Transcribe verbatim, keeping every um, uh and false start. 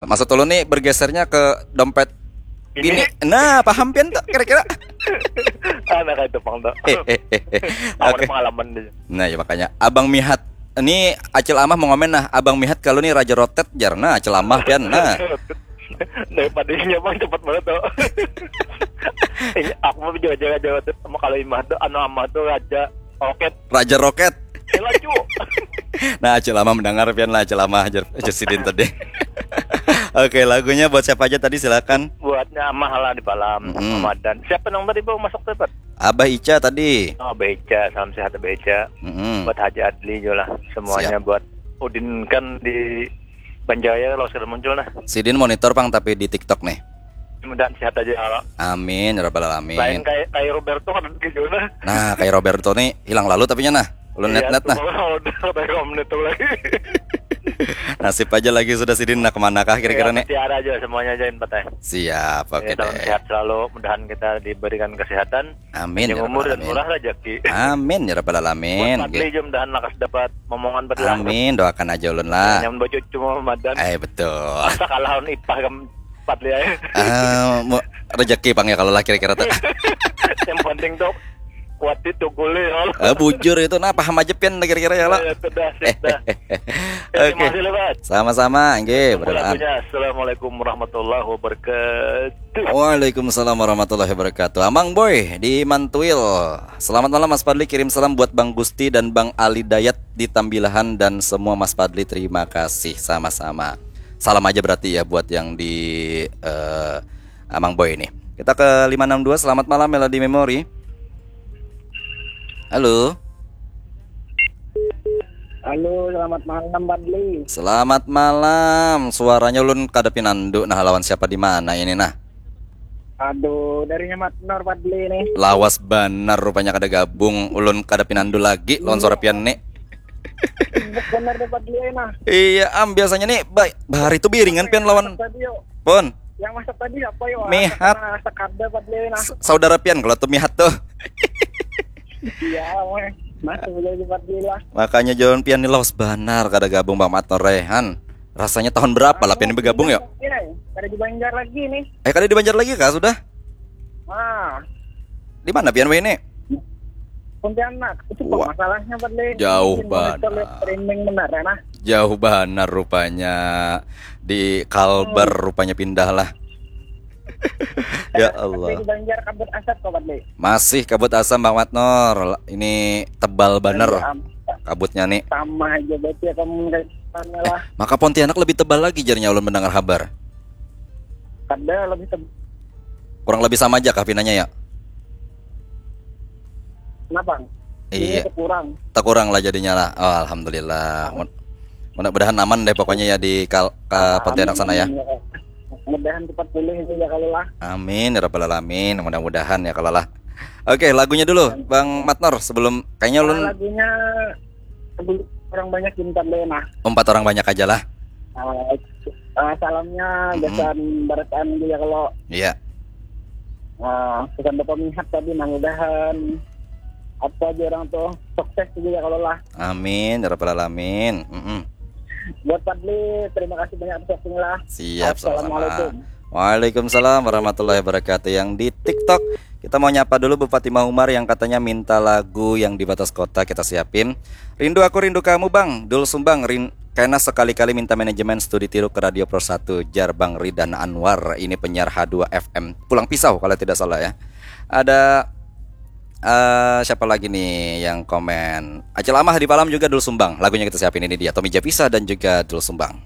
Maksud ulun nih bergesernya ke dompet bini. Nah, paham pian tuh kira-kira? Anak itu pang tuh. Hehehe. Aku Oke. Ada pengalaman deh. Nah, ya makanya Abang Mihat ini Acil Amah mau ngomen nah, Abang Mihat kalau nih Raja Rotet jar nah, Acil Amah pian nah. Daripada ini emang cepat banget tuh. Ini aku mau jaga-jaga Jawa tuh sama kalau imah tuh anu amah tuh raja roket. Raja Roket. Laju. Nah, Acil Amah mendengar pian lah Acil Amah ajar ajar sidin tadi. Oke, lagunya buat siapa aja tadi silakan. Buatnya amah lah di Balam, Mm-mm. Ramadan. Siapa yang tadi mau masuk tuh, Pat? Abah Ica tadi. Oh, Beca, salam sehat Beca. Mm-mm. Buat Haji Adli juga lah. Semuanya buat Udin kan di Banjaya kalau sudah muncul nah. Sidin monitor pang tapi di TikTok nih. Mudahan sehat aja. Amin ya rabbal Lain alamin. kayak kayak Roberto kan gitu nah. Nah, kayak Roberto nih hilang lalu tapinya nah. Ulun net-net nah. Udah berapa menit tuh lagi. Nasib aja lagi sudah sidin nah kemanakah kira-kira nih. Tiara aja semuanya aja yang patah. Siap, oke Ya, salam deh. Sehat selalu, mudahan kita diberikan kesehatan, Amin yang ya umur rabbal dan alamin. Murah rezeki. Amin ya rabbal alamin. Buat Fadli juga mudahan lakas dapat momongan berlah. Amin, doakan aja ulun lah. Nyaman baju cuma Ramadan. Eh betul. Masa kalah lawan ipah kam Fadli aja. Ah, mu- rezeki pang ya kalau lah kira-kira tuh. Yang penting tuh kuat itu gule ya. Eh, bujur itu nah paham aja pian kira-kira ya lah. Ya, sudah, sip dah. Oke. Terima kasih lebat. Sama-sama, nggih, Tunggu berdoa. Lagunya. Assalamualaikum warahmatullahi wabarakatuh. Waalaikumsalam warahmatullahi wabarakatuh. Amang Boy di Mantuil. Selamat malam Mas Fadli, kirim salam buat Bang Gusti dan Bang Ali Dayat di Tambilahan dan semua Mas Fadli. Terima kasih sama-sama. Salam aja berarti ya buat yang di eh, Amang Boy ini. Kita ke lima enam dua. Selamat malam Melody Memory. Halo. Halo, selamat malam Fadli. Selamat malam. Suaranya ulun kada pinandu nah lawan siapa di mana ini nah. Aduh, darinya Matnor Fadli nih. Lawas banar rupanya kada gabung. Ulun kada pinandu lagi lawan suara pian nih. Sibuk bener deh Fadli nah. Iya, am biasanya nih ba- bahari itu biringan pian lawan Tadi yuk. Pun. Yang masak tadi apa yuk? Mihat. Masak ada Fadli nah. S- Saudara pian kalau tuh mihat tuh. Iya, weh. Masuk jadi Fadli lah. Makanya jalan pian nih lawas banar kada gabung Bang Matnor Rehan. Rasanya tahun berapa lah pian ini begabung yuk? Iya, ada di Banjar lagi nih. Eh kada di Banjar lagi kah sudah? Ah, Di mana pian weh ini? Pontianak. Itu Wah. Masalahnya Fadli. Jauh Ini monitor banget. Live streaming benar ya nah. Jauh banar rupanya di Kalbar rupanya pindah lah. Ya Tapi Allah. Di Banjar kabut asap kok Fadli. Masih kabut asam Bang Matnor. Ini tebal banar Iya, am- kabutnya nih. Sama aja berarti ya kamu lah. Maka Pontianak lebih tebal lagi jarnya ulun mendengar kabar. Kada lebih tebal. Kurang lebih sama aja kah pinanya ya? Kenapa? Iya. Ini kurang. Tak kurang lah jadinya lah. Oh, alhamdulillah. Mud- Mudah-mudahan aman deh pokoknya ya di kal- ke Pontianak sana ya. Mudahan cepat pulih itu ya kalau lah. Amin ya rabbal alamin. Mudah-mudahan ya kalau lah. Oke, lagunya dulu Bang Matnor sebelum kayaknya ulun Lagunya sebelum orang banyak cinta deh nah. Empat orang banyak aja lah. Ah, ah, salamnya Mm-mm. Gasan Barataan juga kalau Iya. ah, pesan Bapak Mihat tadi nah mudahan apa aja orang tuh sukses juga kalau lah. Amin ya rabbal alamin. Mm-mm. Buat Fadli terima kasih banyak atas waktunya lah. Siap, sama-sama. Assalamualaikum. Waalaikumsalam warahmatullahi wabarakatuh. Yang di TikTok kita mau nyapa dulu Bupati Maumar yang katanya minta lagu yang di batas kota kita siapin. Rindu aku rindu kamu bang, Dul Sumbang. Rin kena sekali-kali minta manajemen studi tiru ke Radio Pro satu jar Bang Ridan Anwar. Ini penyiar H dua F M Pulang Pisau kalau tidak salah ya. Ada eh, siapa lagi nih yang komen? Acil Amah di Palam juga Dul Sumbang. Lagunya kita siapin ini dia Tommy Japisa dan juga Dul Sumbang.